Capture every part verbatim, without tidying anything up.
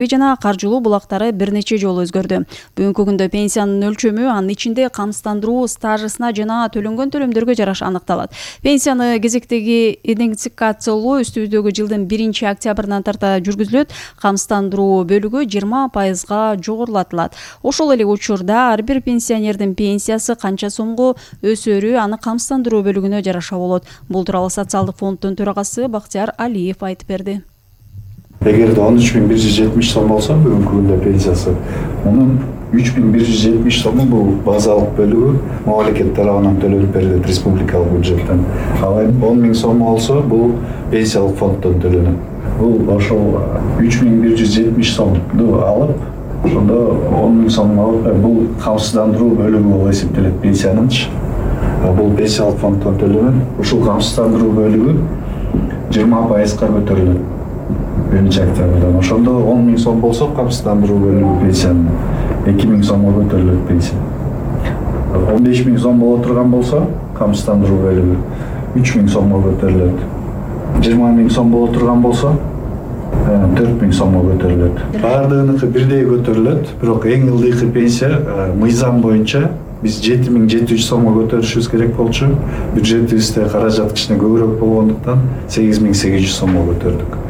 жана каржылуу булактары бир нече жолу өзгөрдү. Бүгүнкү күндө пенсиянын өлчөмү анын ичинде камсыздандыруу стажысына жана төлөнгөн төлөмдөргө жараша аныкталат. Пенсияны кезектеги индексациялоо үстүбүздөгү жылдын биринчи октябрынан тарта жүргүзүлөт. Камсыздандыруу бөлүгү жыйырма пайызга жогорулатылат. Ошол эле учурда ар бир пенсионердин пенсиясы канча сомго өсөрү аны камсыздандыруу бөлүгүнө жараша болот. Бул тууралуу социалдык фонддун төрагасы Бактияр Алиев айтып берди. Эгерде он үч миң бир жүз жетимиш сом болсо бүгүнкү күндө пенсиясы, мунун үч миң бир жүз жетимиш сому бул базалык бөлүгү мамлекет тарабынан төлөнүп берилет республикалык бюджеттен. Ал эми он миң сом болсо бул пенсиялык фонддон төлөнөт. Бул ошол үч миң бир жүз жетимиш сомду алып, ошондо он миң сом алып, бул камсыздандыруу бөлүгү болуп эсептелет пенсиянынчы. Бул пенсиялык фонддон төлөнөт. Ушул камсыздандыруу бөлүгү жыйырма пайызга көтөрүлөт. биринчи октябрдан. Ошондо он миң сом болсо камсыздандыруу бөлүгү пенсиянын эки миң сомго көтөрүлөт пенсия. он беш миң сом боло турган болсо камсыздандыруу бөлүгү үч миң сомго көтөрүлөт. жыйырма миң сом боло турган болсо төрт миң сомго көтөрүлөт. Баардыгыныкы бирдей көтөрүлөт, бирок эң ылдыйкы пенсия мыйзам боюнча биз жети миң жети жүз сомго көтөрүшүбүз керек болчу. Бюджетибизде каражат кичине көбүрөөк болгондуктан сегиз миң сегиз жүз сомго көтөрдүк.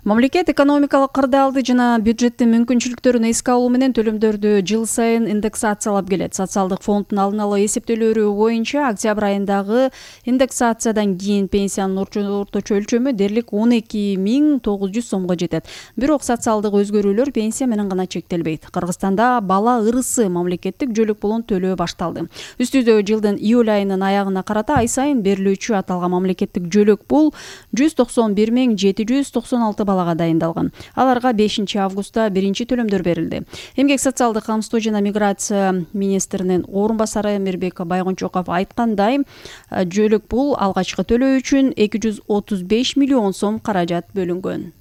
Мамлекет экономикалык кырдаалды жана бюджеттин мүмкүнчүлүктөрүн эске алуу менен төлөмдөрдү жыл сайын индексациялап келет. Социалдык фонддун алдын ала эсептөөлөрү боюнча октябрь айындагы индексациядан кийин пенсиянын орточо өлчөмү дээрлик он эки миң тогуз жүз сомго жетет. Бирок социалдык өзгөрүүлөр пенсия менен гана чектелбейт. Кыргызстанда бала ырысы мамлекеттик жөлөк пулун төлөө башталды. Үстүбүздө жылдын июль айынын аягына карата ай сайын берилүүчү аталган мамлекеттик жөлөк пул жүз токсон бир миң жети жүз токсон алты балага дайындалган. Аларга бешинчи августта биринчи төлөмдөр берилди. Эмгек социалдык камсыздоо жана миграция министринин орун басары Мирбек Байгончоков айткандай, жөлөк пул алгачкы төлөө үчүн эки жүз отуз беш миллион сом каражат бөлүнгөн.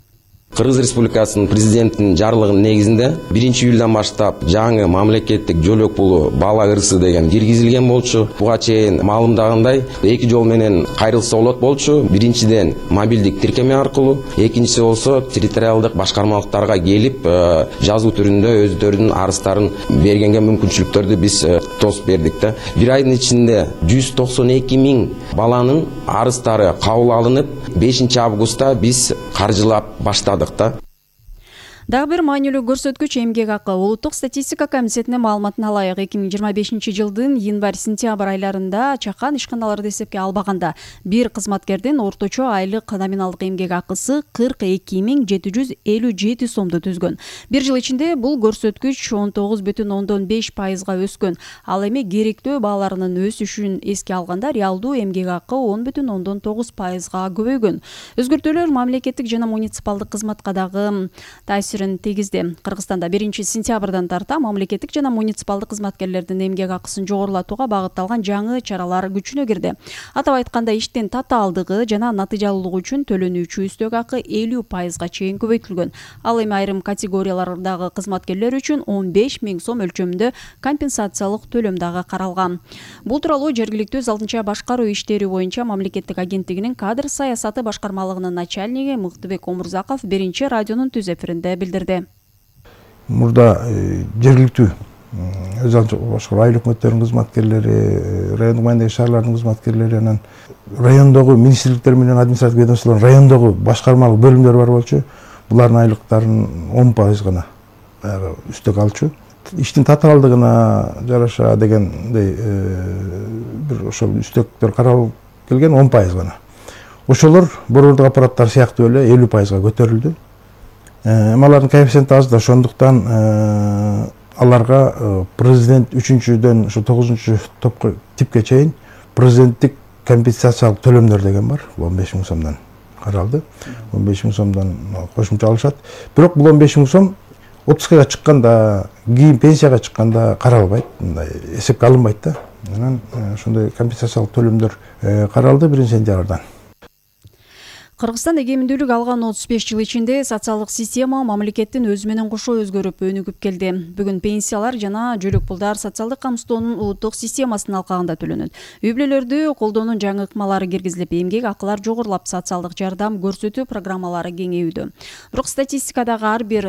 Кыргыз Республикасынын президентинин жарлыгынын негизинде биринчи июлдан баштап жаңы мамлекеттик жөлөк пулу бала ырысы деген киргизилген болчу. Буга чейин маалымдагандай эки жол менен кайрылса болот болчу. Биринчиден мобилдик тиркеме аркылуу, экинчиси болсо территориалдык башкармалыктарга келип жазуу түрүндө өздөрүнүн арыздарын бергенге мүмкүнчүлүктөрдү биз тосуп бердик да. Бир айдын ичинде жүз токсон эки миң баланын арыздары кабыл алынып, бешинчи августта биз каржылап баштадык. Дагы бир маанилүү көрсөткүч эмгек акы. Улуттук статистика комитетинин маалыматына ылайык эки миң жыйырма бешинчи жылдын январь-сентябрь айларында чакан ишканаларды эсепке албаганда бир кызматкердин орточо айлык номиналдык эмгек акысы кырк эки миң жети жүз элүү жети сомду түзгөн. Бир жыл ичинде бул көрсөткүч он тогуз бүтүн ондон беш пайызга өскөн. Ал эми керектөө бааларынын өсүшүн эске алганда реалдуу эмгек акы он бүтүн ондон тогуз пайызга көбөйгөн. Өзгөртүүлөр мамлекеттик жана муниципалдык кызматка дагы таасир тегизди. Кыргызстанда биринчи сентябрдан тарта мамлекеттик жана муниципалдык кызматкерлердин эмгек акысын жогорулатууга багытталган жаңы чаралар күчүнө кирди. Атап айтканда, иштин татаалдыгы жана натыйжалуулугу үчүн төлөнүүчү үстөк акы элүү пайызга чейин көбөйтүлгөн. Ал эми айрым категориялардагы кызматкерлер үчүн он беш миң сом өлчөмүндө компенсациялык төлөм дагы каралган. Бул тууралуу жергиликтүү өз алдынча башкаруу иштери боюнча мамлекеттик агенттигинин кадр саясаты башкармалыгынын начальниги Мыктыбек Омурзаков биринчи радионун түз эфиринде билдирди. Мурда жергиликтүү өз алдынча башкаруу айлык өкмөттөрүнүн кызматкерлери, райондук мааниндеги шаарлардын кызматкерлери, анан райондогу министрликтер менен административдик ведомстволордун райондогу башкармалык бөлүмдөр бар болчу. Булардын айлыктарын он пайыз гана үстөк алчу. Иштин татаалдыгына жараша дегендей бир ошол үстөктөр каралып келген он пайыз гана. Ошолор борбордук аппараттар сыяктуу эле элүү пайызга көтөрүлдү. Алардын коэффициенти аз да, ошондуктан аларга президент үчүнчүдөн ушу тогузунчу топко типке чейин президенттик компенсациялык төлөмдөр деген бар. он беш миң сомдон каралды. он беш миң сомдон кошумча алышат. Бирок бул он беш миң сом отпускага чыкканда, кийин пенсияга чыкканда каралбайт, мындай эсепке алынбайт да. Анан ошондой компенсациялык төлөмдөр каралды биринчи сентябрдан. Кыргызстан эгемендүүлүк алган отуз беш жыл ичинде социалдык система мамлекеттин өзү менен кошо өзгөрүп өнүгүп келди. Бүгүн пенсиялар жана жөлөк пулдар социалдык камсыздоонун улуттук системасынын алкагында төлөнөт. Үй бүлөлөрдү колдоонун жаңы ыкмалары киргизилип, эмгек акылар жогорулап, социалдык жардам көрсөтүү программалары кеңейүүдө. Бирок статистикадагы ар бир